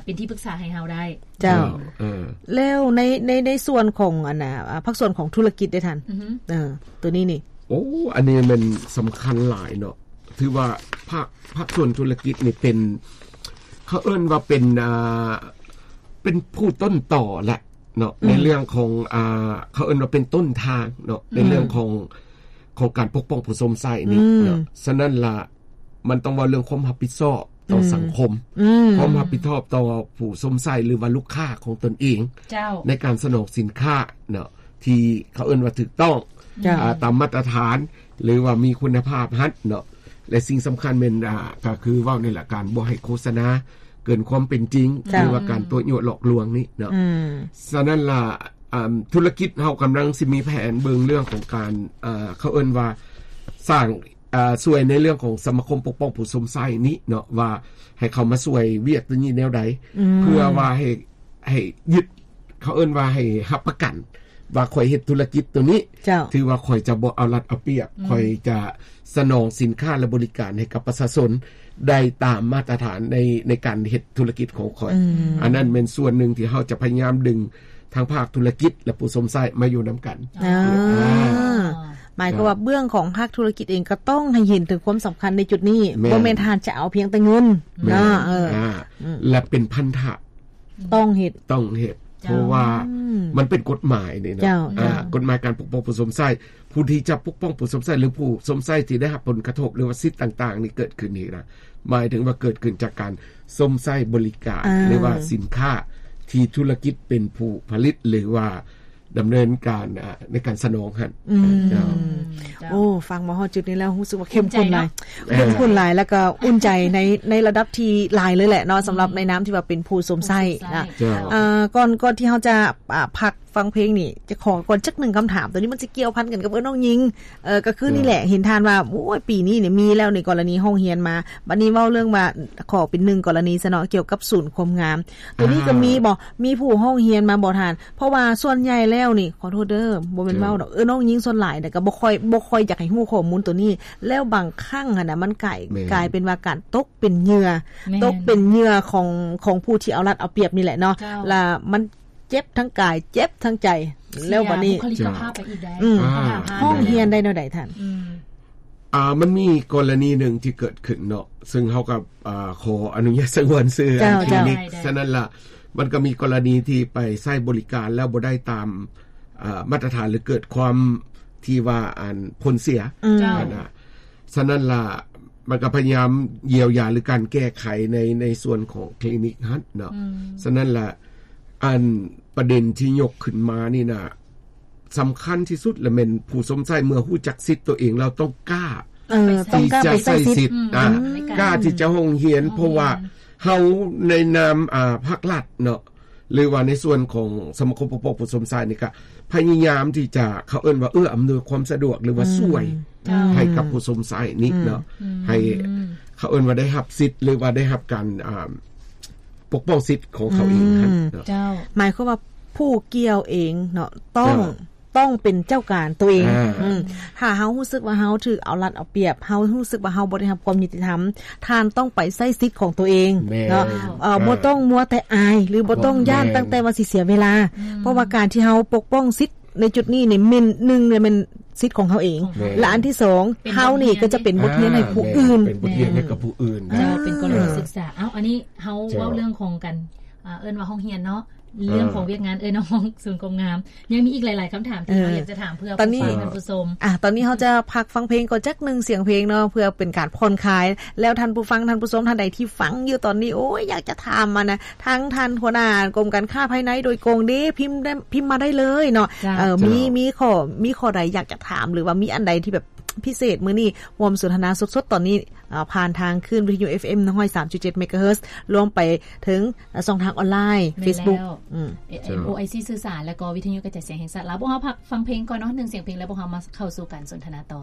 ເປັນທີ່ປຶກສາໃຫ້ເຮົາໄດ້. ເຈົ້າ. ເອີ ແລ້ວໃນ ໃນ ໃນສ່ວນຂອງອັນນ່າ ອາ ພາກສ່ວນຂອງທຸລະກິດເດ້ທ່ານ? ອືຮຶ. ເອີ ໂຕນີ້ນີ້. ໂອ້ ອັນນີ້ແມ່ນສຳຄັນຫຼາຍເນາະ. ຖືວ່າພາກ ພາກສ່ວນທຸລະກິດນີ້ເປັນ ເຂົາເອີ້ນວ່າເປັນ ອ່າ ເປັນຜູ້ຕົ້ນຕໍແຫຼະເນາະ ອືມ ໃນເລື່ອງຂອງ ອ່າ ເຂົາເອີ້ນວ່າເປັນຕົ້ນທາງເນາະ ອືມ ໃນເລື່ອງຂອງ ຂອງການປົກປ້ອງຜູ້ຊົມໃຊ້ນີ້ເນາະ. ອືມ ສະນັ້ນລະ ມັນຕ້ອງເວົ້າເລື່ອງຄວາມຮັບຜິດຊອບຕໍ່ ອືມ ສັງຄົມ, ອືມ ຄວາມຮັບຜິດຊອບຕໍ່ຜູ້ຊົມໃຊ້ ຫຼືວ່າລູກຄ້າຂອງຕົນເອງ ເຈົ້າ ໃນການສະໜອງສິນຄ້າເນາະ ທີ່ເຂົາເອີ້ນວ່າຖືກຕ້ອງ ເຈົ້າ ອາ ຕາມມາດຕະຖານ ຫຼືວ່າມີຄຸນນະພາບຫັ້ນເນາະ. ແລະ ສິ່ງສຳຄັນແມ່ນ ອາ ກໍຄືເວົ້ານີ້ແຫຼະ ການບໍ່ໃຫ້ໂຄສະນາເກີນຄວາມເປັນຈິງ ເຈົ້າ ຫຼືວ່າການຕົວະຍົວະຫຼອກລວງນີ້ເນາະ. ອືມ ສະນັ້ນລະ ອາ ທຸລະກິດເຮົາກຳລັງຊິມີແຜນເບິ່ງເລື່ອງຂອງການ ອາ ເຂົາເອີ້ນວ່າສ້າງ ອາ ຊ່ວຍໃນເລື່ອງຂອງສະມາຄົມປົກປ້ອງຜູ້ຊົມໃຊ້ນີ້ເນາະ ວ່າໃຫ້ເຂົາມາຊ່ວຍວຽກຕົວນີ້ແນວໃດ ອືມ ເພື່ອວ່າໃຫ້ ໃຫ້ຍຶດ ເຂົາເອີ້ນວ່າໃຫ້ຮັບປະກັນວ່າຂ້ອຍເຮັດທຸລະກິດຕົວນີ້ ເຈົ້າ ຖືວ່າຂ້ອຍຈະບໍ່ເອົາລັດເອົາປຽບ ອືມ ຂ້ອຍຈະສະໜອງສິນຄ້າ ແລະ ບໍລິການໃຫ້ກັບປະຊາຊົນໄດ້ຕາມມາດຕະຖານໃນ ໃນການເຮັດທຸລະກິດຂອງຂ້ອຍ. ອືມ ອັນນັ້ນແມ່ນສ່ວນໜຶ່ງທີ່ເຮົາຈະພະຍາຍາມດຶງ ທັງພາກທຸລະກິດ ແລະ ຜູ້ຊົມໃຊ້ມາຢູ່ນຳກັນ. ອ່າ ອ່າ ໝາຍຄວາມວ່າເບື້ອງຂອງພາກທຸລະກິດເອງກໍຕ້ອງໃຫ້ເຫັນເຖິງຄວາມສຳຄັນໃນຈຸດນີ້ ແມ່ນ ບໍ່ແມ່ນທ່ານຈະເອົາພຽງແຕ່ເງິນ ແມ່ນ ເນາະ ເອີ ອ່າ ອືມ ແລະ ເປັນພັນທະ ຕ້ອງເຮັດ ຕ້ອງເຮັດ ເຈົ້າ ເພາະວ່າ ອືມ ມັນເປັນກົດໝາຍນີ້ເນາະ ເຈົ້າ ອ່າ ເຈົ້າ ກົດໝາຍການປົກປ້ອງຜູ້ຊົມໃຊ້ ຜູ້ທີ່ຈະປົກປ້ອງຜູ້ຊົມໃຊ້ ຫຼື ຜູ້ຊົມໃຊ້ທີ່ໄດ້ຮັບຜົນກະທົບ ຫຼືວ່າສິດຕ່າງໆນີ້ເກີດຂຶ້ນນີ້ນະ ໝາຍເຖິງວ່າເກີດຂຶ້ນຈາກການຊົມໃຊ້ບໍລິການ ອ່າ ຫຼືວ່າສິນຄ້າທີ່ທຸລະກິດເປັນຜູ້ຜະລິດ ຫຼືວ່າດຳເນີນການ ອາ ໃນການສະໜອງຫັ້ນ. ອືມ ເຈົ້າ ເຈົ້າ ໂອ້ ຟັງມາຮອດຈຸດນີ້ແລ້ວຮູ້ສຶກວ່າເຂັ້ມຂຸ້ນຫຼາຍ ເຂັ້ມຂຸ້ນຫຼາຍ ແລ້ວກໍອຸ່ນໃຈໃນ ໃນລະດັບທີ່ຫຼາຍເລີຍແຫຼະເນາະ ສຳລັບໃນນາມທີ່ວ່າເປັນຜູ້ຊົມໃຊ້ນະ. ເຈົ້າ ເອີ ກ່ອນ ກ່ອນທີ່ເຮົາຈະ ອາ ພັກ ຟັງເພງນີ້ ຈະຂໍກ່ອນຈັກໜຶ່ງຄຳຖາມ ໂຕນີ້ມັນຊິກ່ຽວພັນກັນກັບເອື້ອຍນ້ອງຍິງ ເອີ ກໍຄື ເຈົ້າ ນີ້ແຫຼະ ເຫັນທ່ານວ່າ ໂອ້ຍ ປີນີ້ນີ້ມີແລ້ວໃນກໍລະນີຮ້ອງຮຽນມາ ບັດນີ້ເວົ້າເລື່ອງວ່າ ຂໍເປັນໜຶ່ງກໍລະນີຊະເນາະ ກ່ຽວກັບສູນຄວາມງາມ ໂຕນີ້ກໍມີບໍ່ ອ່າ ມີຜູ້ຮ້ອງຮຽນມາບໍ່ທ່ານ? ເພາະວ່າສ່ວນໃຫຍ່ແລ້ວນີ້ ຂໍໂທດເດີ ບໍ່ແມ່ນ ເຈົ້າ ເວົ້າດອກ ເອື້ອຍນ້ອງຍິງສ່ວນຫຼາຍນະ ກໍບໍ່ຄ່ອຍ ບໍ່ຄ່ອຍຢາກໃຫ້ຮູ້ຂໍ້ມູນໂຕນີ້ ແລ້ວບາງຄັ້ງຫັ້ນນະ ມັນກາຍ ແມ່ນ ກາຍເປັນວ່າການຕົກເປັນເຫຍື່ອ ແມ່ນ ຕົກເປັນເຫຍື່ອຂອງ ຂອງຜູ້ທີ່ເອົາລັດເອົາປຽບນີ້ແຫຼະເນາະ ເຈົ້າ ລະມັນ ເຈັບທັງກາຍ ເຈັບທັງໃຈ ເສຍ ແລ້ວບັດນີ້ ບຸກຄະລິກະພາບໄປອີກໄດ໋ ອືມ ພັດທະນາ ຮ້ອງຮຽນໄດ້ແນວໃດທ່ານ? ອືມ ອ່າ ມັນມີກໍລະນີໜຶ່ງທີ່ເກີດຂຶ້ນເນາະ ເຊິ່ງເຮົາກໍ ອ່າ ຂໍອະນຸຍາດສະຫງວນຊື່ ເຈົ້າ ອັນ ເຈົ້າ ຄລີນິກ ໄດ້ ໄດ້ ສະນັ້ນລະ ມັນກໍມີກໍລະນີທີ່ໄປໃຊ້ບໍລິການແລ້ວບໍ່ໄດ້ຕາມ ອ່າ ມາດຕະຖານ ຫຼື ເກີດຄວາມທີ່ວ່າ ອັນ ຜົນເສຍ ອືມ ເຈົ້າ ຫັ້ນນະ. ສະນັ້ນລະ ມັນກໍພະຍາຍາມຢຽວຢາ ຫຼື ການແກ້ໄຂໃນ ໃນສ່ວນຂອງຄລີນິກຫັ້ນເນາະ ອືມ ສະນັ້ນລະ ອັນປະເດັນທີ່ຍົກຂຶ້ນມານີ້ນະ ສຳຄັນທີ່ສຸດລະແມ່ນຜູ້ຊົມໃຊ້ເມື່ອຮູ້ຈັກສິດຕົວເອງແລ້ວ ຕ້ອງກ້າ ເອີ ຕ້ອງກ້າໄປໃຊ້ສິດ ອືມ ອືມ ກ້າທີ່ຈະຮ້ອງຮຽນ ເພາະວ່າເຮົາໃນນາມ ອ່າ ພາກລັດເນາະ ຫຼືວ່າໃນສ່ວນຂອງສະມາຄົມປົກປ້ອງຜູ້ຊົມໃຊ້ນີ້ ກະພະຍາຍາມທີ່ຈະ ເຂົາເອີ້ນວ່າເອື້ອອຳນວຍຄວາມສະດວກ ຫຼືວ່າ ອືມ ຊ່ວຍ ເຈົ້າ ໃຫ້ກັບຜູ້ຊົມໃຊ້ນີ້ເນາະ ອືມ ໃຫ້ ອືມ ເຂົາເອີ້ນວ່າໄດ້ຮັບສິດ ຫຼືວ່າໄດ້ຮັບການ ອ່າ ປົກປ້ອງສິດຂອງເຂົາເອງຫັ້ນເນາະ ເຈົ້າ ໝາຍຄວາມວ່າຜູ້ກ່ຽວເອງເນາະ ຕ້ອງ ເຈົ້າ ຕ້ອງເປັນເຈົ້າການຕົວເອງ ອ່າ ອືມ ຖ້າເຮົາຮູ້ສຶກວ່າເຮົາຖືກເອົາລັດເອົາປຽບ ເຮົາຮູ້ສຶກວ່າເຮົາບໍ່ໄດ້ຮັບຄວາມຍຸຕິທຳ ທ່ານຕ້ອງໄປໃຊ້ສິດຂອງຕົວເອງ ແມ່ນ ເນາະ ເອີ ເອີ ບໍ່ຕ້ອງມົວແຕ່ອາຍ ຫຼື ບໍ່ຕ້ອງຢ້ານ ແມ່ນ ຕັ້ງແຕ່ວ່າຊິເສຍເວລາ ອືມ ເພາະວ່າການທີ່ເຮົາປົກປ້ອງສິດໃນຈຸດນີ້ນີ້ແມ່ນ ໜຶ່ງ ແມ່ນສິດຂອງເຮົາເອງ ແມ່ນ ແລະ ອັນທີສອງ ເຮົານີ້ກໍຈະເປັນບົດຮຽນໃຫ້ຜູ້ອື່ນ ເປັນບົດຮຽນໃຫ້ກັບຜູ້ອື່ນ ເຈົ້າ ເປັນກໍລະນີສຶກສາ. ເອົ້າ ອັນນີ້ເຮົາເວົ້າເລື່ອງຂອງການ ອ່າ ເອີ້ນວ່າຫ້ອງຮຽນເນາະ ເລື່ອງຂອງວຽກງານເອື້ອຍນ້ອງສູນຄວາມງາມ ຍັງມີອີກຫຼາຍໆຄຳຖາມທີ່ເຮົາຢາກຈະຖາມເພື່ອຜູ້ຟັງທ່ານຜູ້ຊົມ. ຕອນນີ້ເຮົາຈະພັກຟັງເພງກ່ອນຈັກໜຶ່ງສຽງເພງເນາະ ເພື່ອເປັນການຜ່ອນຄາຍ ແລ້ວທ່ານຜູ້ຟັງທ່ານຜູ້ຊົມທ່ານໃດທີ່ຟັງຢູ່ຕອນນີ້ ໂອ້ຍ ຢາກຈະຖາມມານະ ທາງທ່ານຫົວໜ້າກົມການຄ້າພາຍໃນໂດຍກົງເດ້ ພິມໄດ້ ພິມມາໄດ້ເລີຍເນາະ ເອີ ມີ ມີຂໍ້ ມີຂໍ້ໃດຢາກຈະຖາມ ຫຼືວ່າມີອັນໃດທີ່ແບບ ພິເສດມື້ນີ້ຮ່ວມສົນທະນາສົດໆຕອນນີ້ ເອີ ຜ່ານທາງຄື້ນວິທະຍຸ ເອັຟເອັມ ໜຶ່ງຮ້ອຍສາມຈຸດເຈັດ ເມກາເຮີດ ລວມໄປເຖິງ ເອີ ຊ່ອງທາງອອນລາຍ ເຟສບຸກ ອືມ ໂອໄອຊີ ສື່ສານ ແລ້ວກໍວິທະຍຸກະຈາຍສຽງແຫ່ງຊາດລາວ. ພວກເຮົາພັກຟັງເພງກ່ອນເນາະ ໜຶ່ງສຽງເພງ ແລ້ວພວກເຮົາມາເຂົ້າສູ່ການສົນທະນາຕໍ່.